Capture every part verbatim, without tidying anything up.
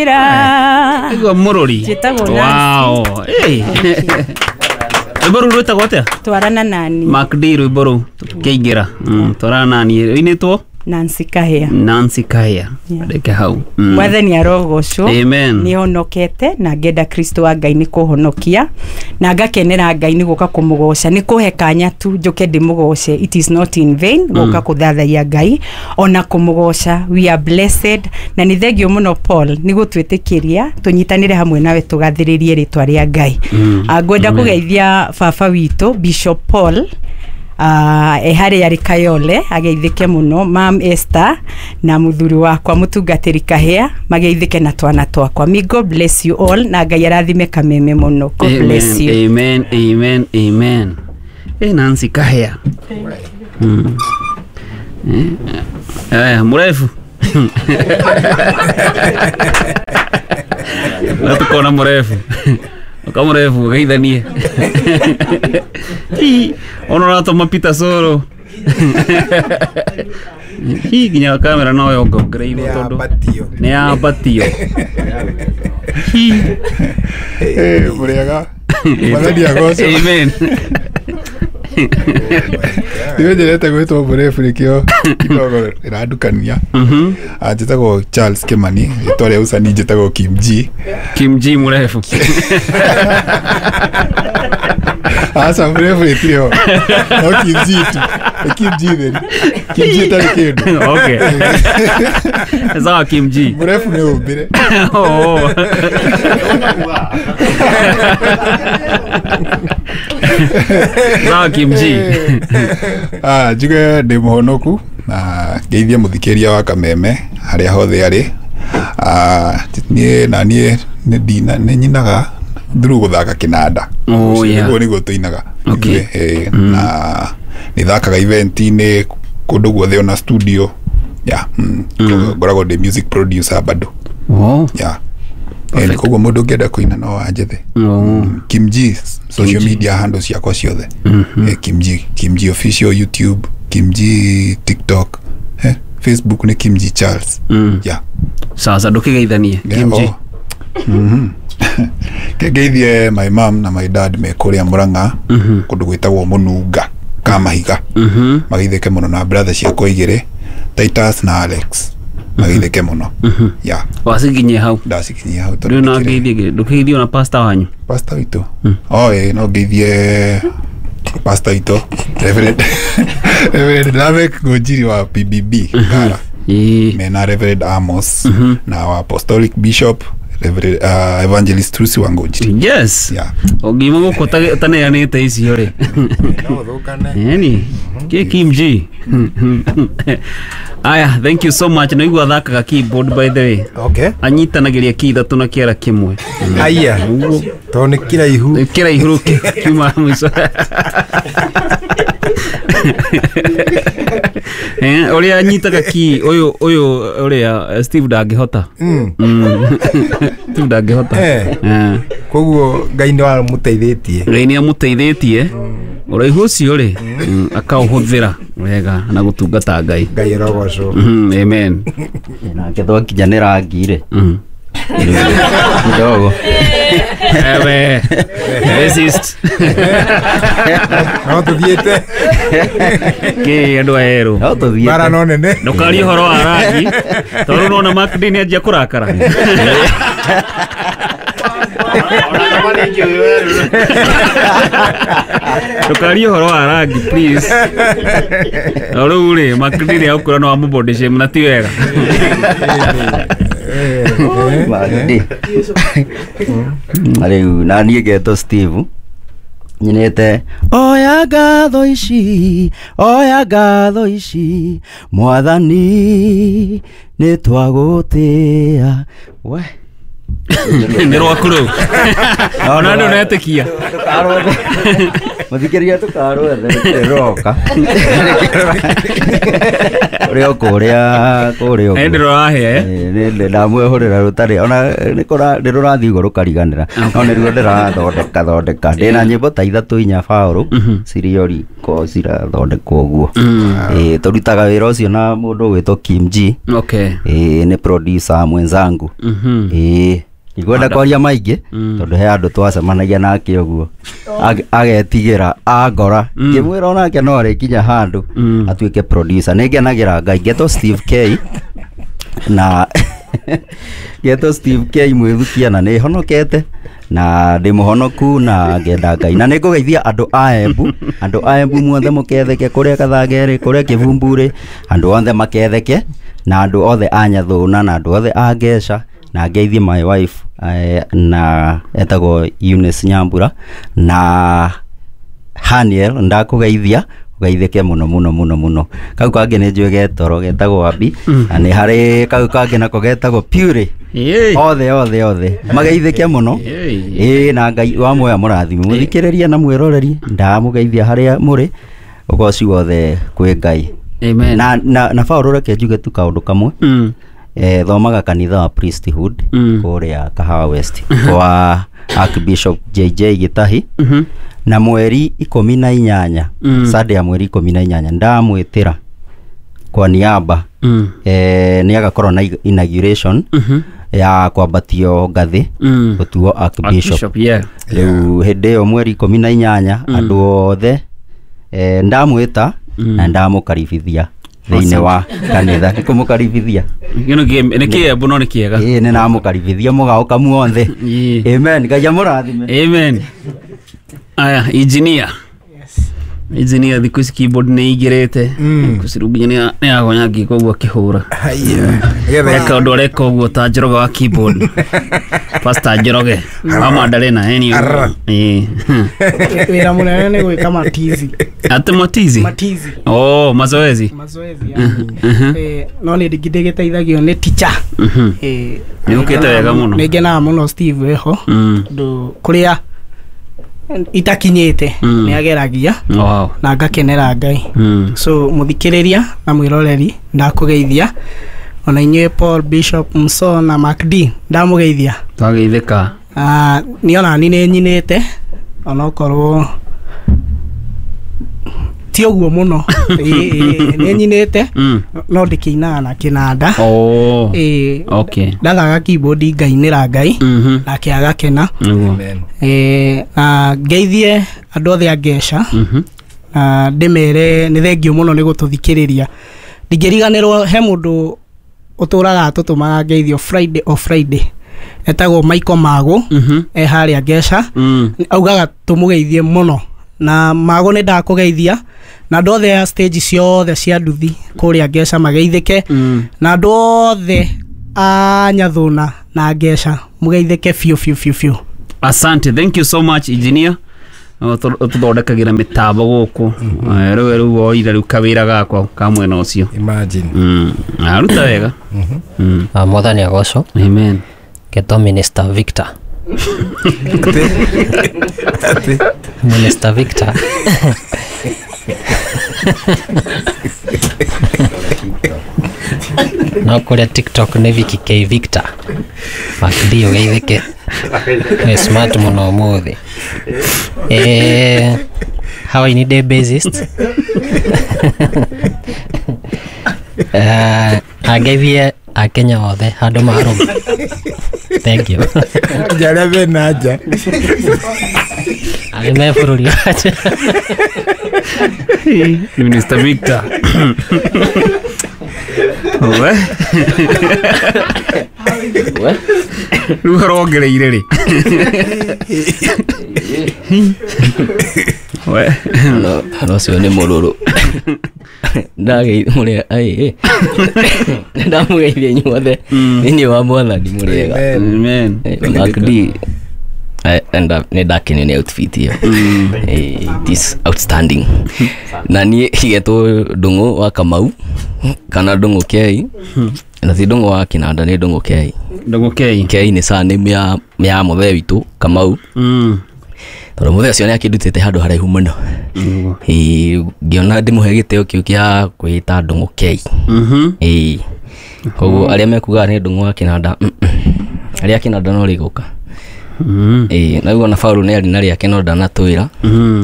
Njĩra. Igua mũrũri. Njĩtagwo Wow. Hey. Rwĩmbo rũu rwĩtagwo atĩa? Twarana nani. Mark D rwĩmbo rũu tũkĩingĩra. Mm, twarana nani rũinĩtwo Nancy Kahia. Nancy Kahia. Yeah. Reke hau. Mm. Mwathani arogocwo. Amen. Nĩ honokete na ngenda Kristo wa Ngai nĩ kũhonokia na ngakenera Ngai nĩ gũka kũmũgoca nĩ kũhe kanya tu njũke ndĩmũgoce. It is not in vain gũka kũthathaiya Ngai ona kũmũgoca. We are blessed na nĩ thengio mũno Paul nĩ gũtwĩtĩkĩria tũnyitanĩre hamwe nawe tũgathĩrĩrie rĩtwa rĩa Ngai. Mm. Ah, ngwenda kũgeithia baba witũ Bishop Paul uh, e harĩa arĩ Kayole ageithĩke mũno, Mam Esther na mũthuri wakwa mũtungatĩri Kahia mageithĩke na twana twakwa. May God bless you all na Ngai arathime Kameme mũno. God bless you. Amen, amen, amen. Eh, Nancy Kahia. Mm. Eh, eh, mũrefu. Na tukona mũrefu. Ukamũrefu geithanie. Hi, ono ratoma Peter Soro. Hi, nginya kamera no yongongereirwo tondu nĩ yambatio. Hi. Eh, mũrĩega. Mwathani agocwo. Amen. Niwe njerete gwĩtwo mũrefu nĩkĩo kidogo ĩrandukania. Mhm. Ah, njĩtagwo Charles Kimani, rĩtwa rĩa ũcani njĩtagwo Kim G. Kim G mũrefu. Aca mũrefu rĩtirĩ ho. No Kim G tu. Nĩ Kim G theri. Kim G ĩtarĩ kĩndũ. Okay. Sawa Kim G. Mũrefu nĩ ũmbĩre. Oh. Sawa Kim G. Ah, njuge ndĩ mũhonoku na ngeithie mũthikĩria wa Kameme harĩa hothe arĩ. Ah, niĩ na niĩ nĩ ndina nĩ nyinaga through gũthaka kĩnanda. Oh, yeah. Nĩguo nĩguo tũinaga. Okay. Eh, na nĩ thakaga event-inĩ kũndũ guothe ona studio. Yeah. Mm. Ngoragwo ndĩ music producer bado. Oh. Yeah. Eh, koguo mũndũ ũngĩenda kũina no anjethe. Oh. Kim G social media handles ciakwa ciothe. Eh, Kim G, Kim G official YouTube, Kim G TikTok, eh, Facebook nĩ Kim G Charles. Mm. Yeah. Sasa ndũkĩgeithanie Yeah, Kim G. oh. Mhm. Ngeithie my mom na my dad me kũrĩa Murang'a kũndũ gwĩtagwo Mũnunga Kamahiga. Mhm. Mageithĩke mũno na brother ciakwa igĩrĩ Titus na Alex. Mageithĩke mũno. Yeah. Wacikinyie hau. Ndacikinyia hau Rĩu no ngeithie ndũkĩgeithio na pastor wanyu. Pastor witũ. Oh, eh, no ngeithie pastor witũ Reverend Reverend Lamek Ngũnjiri wa P B B Ngara. Ĩĩ. Mena Reverend Amos na wa Apostolic Bishop Reverend uh, Evangelist Trusi wa Ngũnjiri. Yes. Yeah. Ũngiuma gũkũ ũta- ũtaneanĩte icio rĩ. No thũkane. Eni, kĩ Kim G. Aya, thank you so much. Naigua athakaga keyboard by the way. Okay. Anyitanagĩria key ithatũ na kĩara kĩmwe. Aya. Tondũ nĩ kĩraihu. Kĩraihu rĩu kiuma mũico. Eh, ũrĩa anyitaga key ũyũ ũyũ ũrĩa Steve ndangĩhota. Mm. Mm. Steve ndangĩhota. Eh. Eh. Koguo Ngai nĩ wamũteithĩtie. Ngai nĩ amũteithĩtie. Ũraihu ũcio rĩ akaũhũthĩra wega na gũtungata Ngai. Ngai arogocwo. Mhm, amen. Nake twakinyanĩra rangi rĩ. Mhm. Kidogo. Ewe. Racist. No tũthiĩte. Kĩ andũ aerũ. No tũthiĩte. Bara no nene. Ndũkarie ũhoro wa rangi tondũ nona Mark D nĩ anjia kũrakara. Ndũkarie ũhoro wa rangi please. No rĩu rĩ Mark D nĩ agũkwĩra no amũbody shame na ti wega. Mark D. Rĩu na niĩ ngetwo Steve nyinĩte oya ngatho ici oya ngatho ici mwathani nĩ twagũtĩa we nĩ rwaku rũu ona andũ netĩkia. Muthikĩrĩria tũkarwethe rũroka. Ũrĩa kũrĩa kũrĩa ũguo. Nĩ ndĩrorahĩa eh? Nĩ ndamwĩhũrĩra rũtarĩ ona nĩ kũra nĩ rũrathiĩ ũguo rũkariganĩra no nĩruo ndĩrathondeka thondeka ndĩna nyĩmbo ta ithatũ inya baũrũ cirio riko cirathondekwo ũguo. Ĩĩ tũrutaga wĩra ũcio na mũndũ ũgwĩtwo Kim G. Okay. Ĩĩ nĩ producer mwenzangu. Ĩĩ ndikwenda kwaria maingĩ tondũ he andũ twacemanagia nake ũguo agetigĩra angora ngĩmwĩra onake no arĩkinya handũ atuĩke producer. Nĩ ngenagĩra Ngai ngetwo Steve K na ngetwo Steve K mwĩthukia na nĩ honokete na ndĩ mũhonoku na ngenda Ngai na nĩ ngũgeithia andũ a Embu andũ a Embu muothe mũketheke kũrĩa Kathangerĩ kũrĩa Kĩbumburĩ andũ othe maketheke na andũ othe a Nyathũna na andũ othe a Ngeca na ngeithie my wife eh, na etagwo Eunice Nyambura na Haniel ndakũgeithia ũgeithĩke mũno mũno mũno mũno. Kau kangĩ nĩ njũĩ getoro getagwo Abi na nĩ harĩ kau kangĩ nako getagwo Pure othe othe othe mageithĩke mũno ĩĩ na Ngai wa muoya mũrathime mũthikĩrĩria na mwĩroreri ndamũgeithia harĩa mũrĩ ũgoci wothe kwĩ Ngai. Amen. Na na na Paul reke njuge tu kaũndũ kamwe. Mm. Eh, thomaga kanitha wa priesthood mm. kũrĩa Kahawa West kwa Archbishop J J Gitahi mm -hmm. na mweri ikũmi na inyanya mm. Sunday ya mweri ikũmi na inyanya ndamwĩtĩra kwa niaba mm. eh, nĩ agakorwo na inauguration mm -hmm. ya kwambatio ngathĩ mm. gũtuo Archbishop. Archbishop, yeah. Rĩu hĩndĩ ĩyo mweri ikũmi na inyanya mm. andũ othe eh, ndamwĩta mm. na ndamũkaribithia thĩinĩ wa kanitha nĩ kũmũkaribithia Gĩno nĩ kĩembu no nĩ kĩega. Ĩĩ nĩ namũkaribithia mũgaũka muothe. Amen. Ngai amũrathime. Amen. Aya engineer. Yes. Engineer thikũ ici keyboard nĩ igĩrĩte kũciru nginya nĩ agonya ngiko ũguo akĩhũra. Eka ũndũ areka ũguo ta Njoroge wa keyboard. Pastor Njoroge wa Mandarena anyway. Ĩĩ. Wĩra mũnene nĩ gwĩka matizi. Ate matizi? Matizi. Oh, mazoezi. Mazoezi. Eh, no nĩ ndingĩteithagio nĩ teacher. Eh, nĩ ũkĩte wega mũno. Nĩ ngenaga mũno Steve wĩho. Tondũ kũrĩa itakinyĩte nĩ ageragia wow. na ngakenera Ngai. So mũthikĩrĩria na mwĩroreri ndakũgeithia ona inyuĩ Paul Bishop Mso na Mark D ndamũgeithia. Twageithĩka. Ah, niĩ ona niĩ nĩ nyinĩte onokorwo ti ũguo mũno nĩ nyinĩte no ndĩkĩinaga na kĩnanda. Oh. Ĩĩ. Okay. Ndathaga keyboard ngainĩra Ngai nake agakena. Eh, na ngeithie andũ othe a Ngeca na ndĩmere nĩ thengio mũno nĩ gũtũthikĩrĩria. Ndingĩriganĩrwo he mũndũ ũtũraga atũtũmaga ngeithio Friday o Friday etagwo Michael Mago e harĩa Ngeca augaga tũmũgeithie mũno na Mago nĩ ndakũgeithia na andũ othe a stage ciothe cia nduthi kũrĩa Ngeca mageithĩke na andũ othe a Nyathũna na Ngeca mũgeithĩke biũ biũ biũ biũ. Asante, thank you so much engineer. Ũtũthondekagĩra mĩtambo gũkũ rĩu rĩu woire rĩu kawĩra gakwa ka mwena ũcio. Imagine. Mm. Aruta wega. Mwathani agocwo. Amen. Ngetwo Minister Victor. Minister Victor. No kũrĩa TikTok nĩ Vicky K Victor. Mark D ũgeithĩke. Nĩ smart mũno ũmũthĩ. Eh, how I need a bassist. Eh, angeithie Akenya othe handũ marũma. Thank you. Njarĩa mena nja. Arĩa me bũrũri wa nja. Minister Victor. We. We. Rĩu arongereire rĩ. We. No, ũcio nĩ mũrũrũ. Ndageithia mũrĩ ai. Ndamũgeithia inyuothe thĩinĩ wa Mwathani mũrĩega. Amen. Mark D and nĩ ndakenio nĩ outfit ĩyo. It is outstanding. Na niĩ igetwo Ndung'u wa Kamau kana Ndung'u K na ti Ndung'u wa Kinanda nĩ Ndung'u K. Ndung'u K. K nĩ surname ya ya mũthee witũ Kamau. Mm. Tondũ mũthee ũcio nĩ akĩndutĩte handũ haraihu mũno. Ĩĩ, ngĩona ndĩmũhe gĩtĩo kĩu kĩa kwĩta Ndũng'ũ K. Ĩĩ, koguo arĩa mekugaga nĩ Ndũng'ũ wa kĩnanda, mm, mm. Arĩa kĩnanda no rĩgũka. Ĩĩ, na rĩu ona Paul nĩ arĩ na rĩake no ndanatwĩra.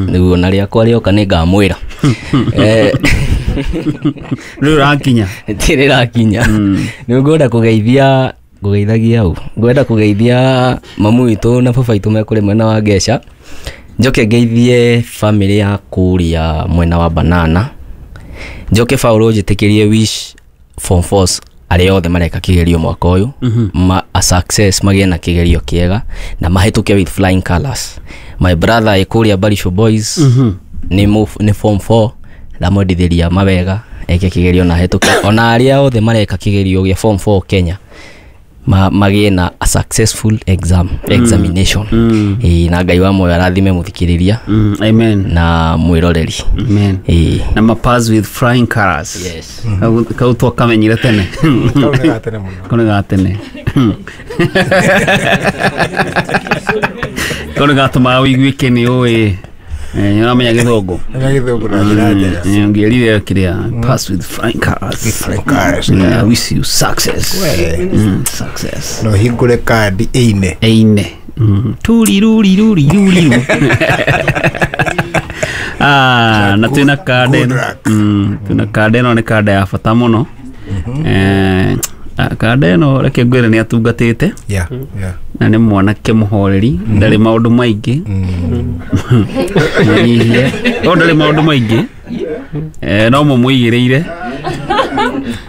Nĩguo na rĩakwa rĩoka nĩ ngamwĩra. Eh, rĩu rakinya. Rĩrakinya. Nĩ ngwenda kũgeithia ngũgeithagia ũ ngwenda kũgeithia mamu witũ na baba witũ me kũrĩ mwena wa Ngeca. Njoke ngeithie family ya kũrĩa mwena wa Banana. Njoke Paul njĩtĩkĩrie wish form fours arĩa othe mareka kĩgerio mwaka ũyũ ma a success, magĩe na kĩgerio kĩega na mahĩtũke with flying colors. My brother ĩ kũrĩa Barisho Boys nĩ mũ- nĩ form four, ndamwendithĩria mawega eke kĩgerio na hĩtũke. Ona arĩa othe mareka kĩgerio gĩa form four Kenya ma, magĩe na a successful exam examination. Ĩĩ, na Ngai wa muoyo arathime mũthikĩrĩria Mm, amen na mwĩroreri. Amen. Ĩĩ. Na ma pass with flying colors. Yes. Kau kau twakamenyire tene. Kau nĩ ga tene mũno. Kau nĩ ga tene. Kau nĩ gatũmaga ũiguĩke nĩ ũĩ. Eh, nĩ ũramenya gĩthũngũ. Nĩ gĩthũngũ na njĩra njega. Mm, ũngĩerire kĩrĩa pass with flying colors. Flying colors. Yeah, I wish you success. We. Mm, success. No hingũre kandi ĩine. Eine. Mm. Turi ruri ruri ruri. Ah, na twina kanda Good ĩno. luck. Mm, twina kanda ĩno nĩ kanda ya bata mũno. Eh, ah, kanda ĩno reke ngwĩre nĩ atungatĩte Yeah, yeah. na nĩ mwanake mũhoreri, ndarĩ maũndũ maingĩ. Mũnyihie. No ndarĩ maũndũ maingĩ. Eh, no mũmũigĩrĩire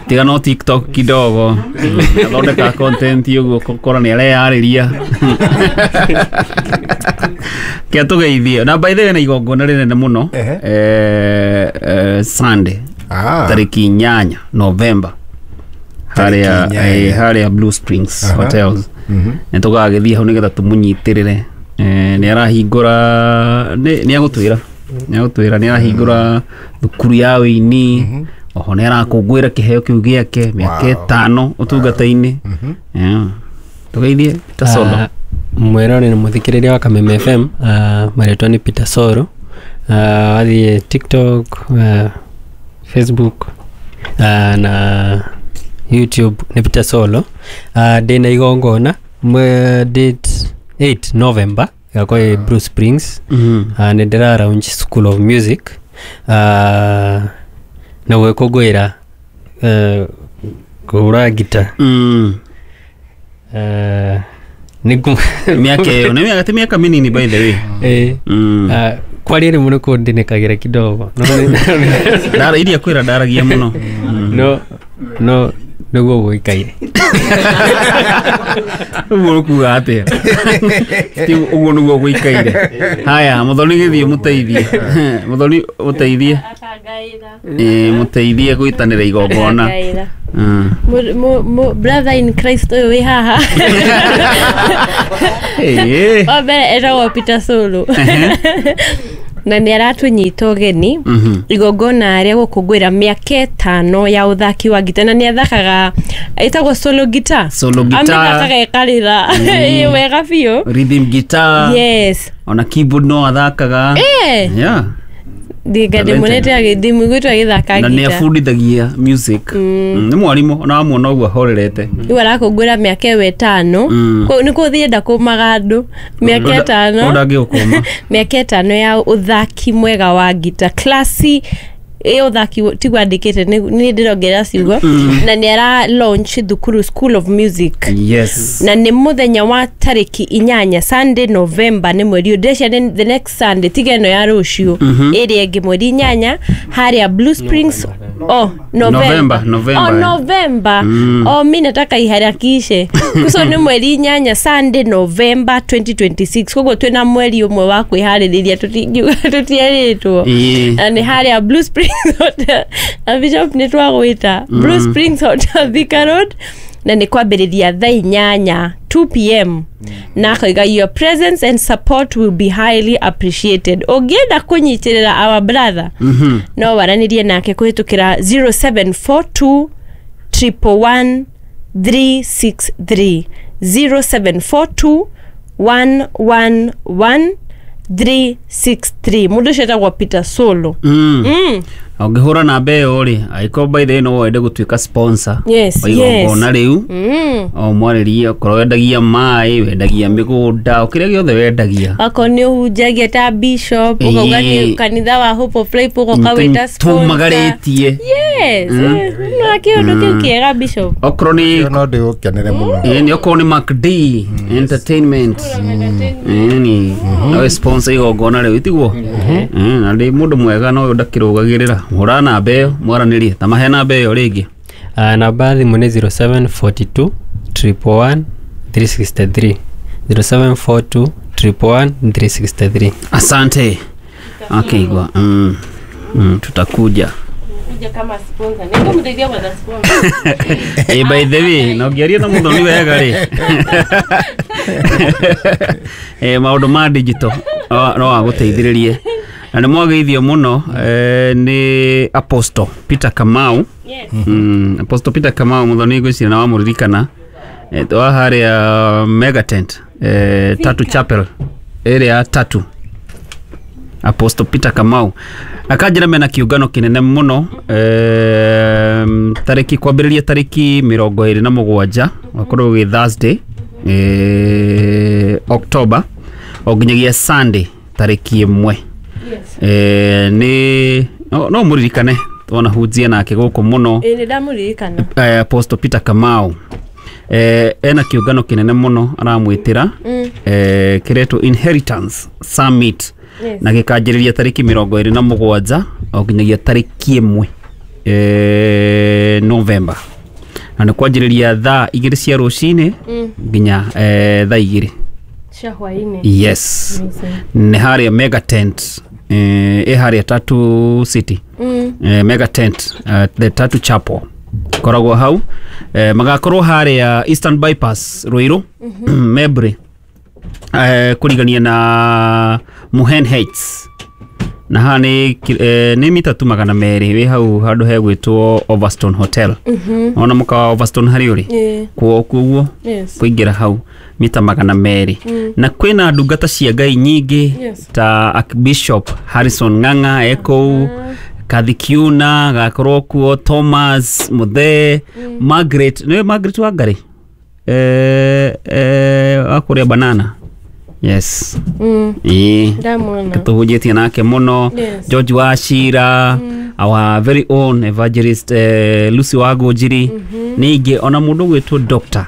tiga no TikTok kidogo. Mm, athondeka content ũguo ũkora nĩ areyarĩria kĩa tũgeithie. Na by the way na igongona rĩnene mũno Ehe. eh, eh, Sunday Ah. tarĩki inyanya November harĩa Tarĩki inyanya. eh, harĩa Blue Springs Aha. Hotels. Mhm. Nĩ tũgagĩthiĩ hau nĩgetha tũmũnyitĩrĩre. Eh, nĩ arahingũra nĩ nĩ agũtwĩra nĩ agũtwĩra nĩ arahingũra thukuru ya ũini. Oho nĩ arakũngũĩra kĩheo kĩu gĩake mĩaka Wow. ĩtano ũtungata-inĩ. Yeah. Tũgeithie Peter Solo. Ah, mwĩrori na mũthikĩrĩria wa Kameme F M, ah, marĩtwa nĩ Peter Solo. Ah, wathiĩ TikTok, ah, Facebook, ah, na YouTube nĩ Peter Solo. Ah, ndĩna igongona mwe date eight November ĩgakorwo ĩ Blue Springs. Mhm. Ah, nĩ ndĩra launch School of Music. Ah, na gwĩkũngũĩra eh, kũhũra ngita. Mm. Eh, nĩ ngu- Mĩaka ĩyo nĩ mĩaka ti mĩaka mĩnini by the way. Eh, Mm. ah, kwaria rĩmwe nĩ kũndinĩkagĩra kidogo. No, nĩ- Ndara iria kwĩra ndaragia mũno. Mm. no no nĩguo gũikaire. Ũguo ũkuga atĩa? Ti ũguo nĩguo gũikaire. Haya, mũthoni gĩthiĩ mũteithie. Mũthoni mũteithie. Ĩĩ, mũteithie gwĩtanĩra igongona. Akangaĩra. Mm. Mu- mu- mu- brother in Christ ũyũ wĩ haha. Ĩĩ. Wa mbere etagwo Peter Solo na nĩ aratũnyita ũgeni Mhm. igongona rĩa gũkũngũĩra mĩaka ĩtano ya ũthaki wa ngita, na nĩ athakaga ĩtagwo solo guitar. Solo guitar. Amĩthakaga ĩkarĩra. Ĩĩ, wega biũ. Rhythm guitar. Yes. Ona keyboard no athakaga. Eh. Yeah. Ndinga ndĩmuonete agĩ- ndĩmũiguĩte agĩthaka Na nĩ ngita. abundithagia music. Mm, nĩ mwarimũ ona wamuona ũguo ahorerete. Rĩu arakũngũĩra mĩaka ĩyo ĩtano. Mm. Kũ- nĩ kũthiĩ nda kũmaga andũ mĩaka ĩtano. Ũndũ angĩgũkũma. Mĩaka ĩtano ya ũthaki mwega wa ngita klasi ĩ ũthaki tiguo andĩkĩte nĩ ndĩrongerera ciugo, na nĩ ara launch thukuru School of Music. Yes. Na nĩ mũthenya wa tarĩki inyanya Sunday November nĩ mweri ũyũ, ndĩreciria nĩ the next Sunday, tiga ĩno ya rũciũ, ĩrĩa ĩngĩ mweri inyanya harĩa Blue Springs. Oh, November. November, November, Oh, eh. November. Mm. Oh, mi nataka iharakishe kuso nĩ mweri inyanya Sunday November twenty twenty-six, koguo twĩna mweri ũmwe wa kwĩharĩrĩria, tũtingiuga tũtierĩtwo. Ĩĩ. Na nĩ harĩa Blue Springs Hotel na Bishop nĩ twagwĩta Blue Springs Hotel Thika Road, na nĩ kwambĩrĩria thaa inyanya two p m, na akoiga your presence and support will be highly appreciated. Ũngĩenda kũnyitĩrĩra our brother, Mhm. no waranĩrie nake kũhĩtũkĩra zero seven four two triple one three six three, zero seven four two one one one three six three. Mundu ucio etagwo Peter Solo. Mm. Mm. Ũngĩhũra namba ĩyo rĩ, angĩkorwo by the way no wende gũtuĩka sponsor Yes, wa igongona yes. rĩu, Mm. o mwarĩrie okorwo wendagia maĩ, wendagia mĩgũnda, o kĩrĩa gĩothe wendagia. Akorwo nĩ ũhunjagia ta bishop, ũkauga nĩ Ĩĩ. kanitha wa Hope of Life ũgoka wĩta sponsor. Tũmagarĩtie. Yes. Mm. eh, No kĩũndũ kĩu kĩega bishop. Okorwo nĩ no ndĩgũkenere mũno. Ĩĩ, nĩ okorwo nĩ MacD Entertainment. Ĩĩ, no sponsor igongona rĩu tiguo. Ĩĩ, na ndĩ mũndũ mwega no ndakĩrũgagĩrĩra. Hũra namba ĩyo mwaranĩrie, ta mahe namba ĩyo rĩngĩ. Uh, namba ya thimũ nĩ zero seven four two triple one three six three, zero seven four two triple one three six three. Asante. Okay, igwa. Mm. Mm, tutakuja. Kuja kama sponsor. Nĩngũmũteithia gwetha sponsor. Eh, by the way, no ngĩaria na mũthoni wega rĩ. Eh, maũndũ ma digital no no agũteithĩrĩrie. Na nĩ mwageithio mũno eh, nĩ Apostle Peter Kamau. Yes. Mm, Apostle Peter Kamau mũthoni ngwĩciria na wamũririkana. Eh, wa harĩa Megatent, eh, Tatu Chapel ĩrĩa ya Tatu. Apostle Peter Kamau akanjĩra mena kĩũngano kĩnene mũno, eh, tarĩki kwambĩrĩria tarĩki mĩrongo ĩrĩ na mũgwanja wakorwo gĩ Thursday, eh, October o nginyagia Sunday tarĩki ĩmwe. Yes. Eh, nĩ no, no mũririkane twona hunjia nake gũkũ mũno. Ĩĩ, nĩ ndamũririkana. Eh, Apostle Peter Kamau eh, ena kĩũngano kĩnene mũno aramwĩtĩra, Mm. eh, kĩretwo Inheritance Summit. Yes. Na gĩkanjĩrĩria tarĩki mĩrongo ĩrĩ na mũgwanja o nginyagia tarĩki ĩmwe, eh, November, na nĩ kwanjĩrĩria thaa igĩrĩ cia rũcinĩ Mm. nginya eh, thaa igĩrĩ Cia hwaĩ-inĩ. Yes. Amazing. Nĩ harĩa Mega Tent, eh, ĩ harĩa Tatu City. Mm. eh, Mega Tent, uh, the Tatu Chapel koragwo hau, eh, magakorwo harĩa Eastern Bypass Ruiru, Mebre, eh, kũrigania na Muhen Heights, na haha nĩ ki- eh, nĩ mita tu magana merĩ wĩ hau handũ hegwĩtwo Overstone Hotel. Ona mũkawa wa Overstone harĩa ũrĩ Ĩĩ. kuo kuoguo Yes. kũingĩra hau mita magana merĩ. Na kwĩna ndungata cia Ngai nyingĩ Yes. ta Archbishop Harrison Ng'ang'a ekũu, Kathi Kiuna gakorwo kuo, Thomas Muthee, Margaret, nĩwe Margaret Wangari, eh, eh, wa kũrĩa banana. Yes. Mm. Ĩĩ, Ndamuona. tũhunjĩtie nake mũno. Yes. George Wachira, our very own evangelist, eh, Lucy Wagũnjiri, ningĩ ona mũndũ ũgwĩtwo Doctor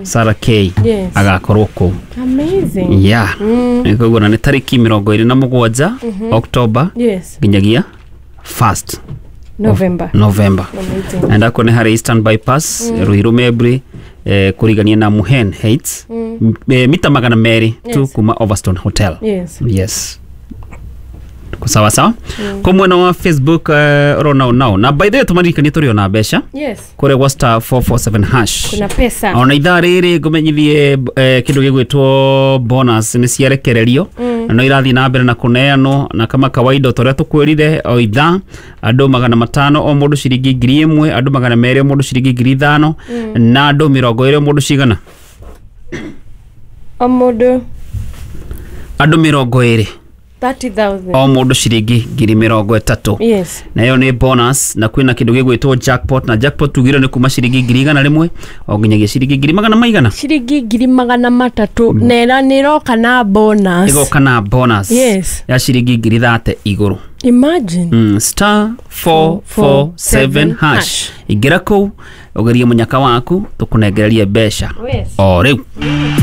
Sarah K Yes. agakorwo kũu. Amazing. Yeah. Mm. Koguo na nĩ tarĩki mĩrongo ĩrĩ na mũgwanja October Yes. nginyagia first November. November. Amazing. Na ndakwo nĩ harĩa Eastern Bypass, mm. Ruiru Mebri, eh, kũrigania na Muhen Heights, mm. eh, mita magana merĩ tu Yes. kuma Overstone Hotel. Yes. Yes. Tuko sawa sawa. Mm. Kwa mwena wa Facebook, uh, ũrona nao. Na by the way tũmaririkanie tũrĩ ona mbeca Yes. kũrĩa gwa star four four seven hash. Kuna pesa. Ona ithaa rĩrĩ ngũmenyithie eh, kĩndũ gĩgwĩtwo bonus nĩ ciarekererio, na no irathiĩ na mbere na kũneanwo, na kama kawaida ta ũrĩa tũkwĩrire o ithaa andũ magana matano o mũndũ ciringi ngiri ĩmwe, andũ magana merĩ o mũndũ ciringi ngiri ithano, na andũ mĩrongo ĩrĩ o mũndũ cigana? O mũndũ Andũ mĩrongo ĩrĩ thirty thousand. o mũndũ ciringi ngiri mĩrongo ĩtatũ. Yes. Na ĩyo nĩ bonus, na kwĩna kĩndũ gĩgwĩtwo jackpot, na jackpot tugire nĩ kuma ciringi ngiri igana rĩmwe o nginyagia ciringi ngiri magana maigana? Ciringi ngiri magana matatũ na ĩra nĩ ĩroka na bonus. Ĩgoka na bonus Yes. ya ciringi ngiri thate igũrũ. Imagine. Mm, star four four seven hash, ingĩra kũu ũgerie mũnyaka waku tũkũnengererie mbeca Yes. o rĩu. Mm.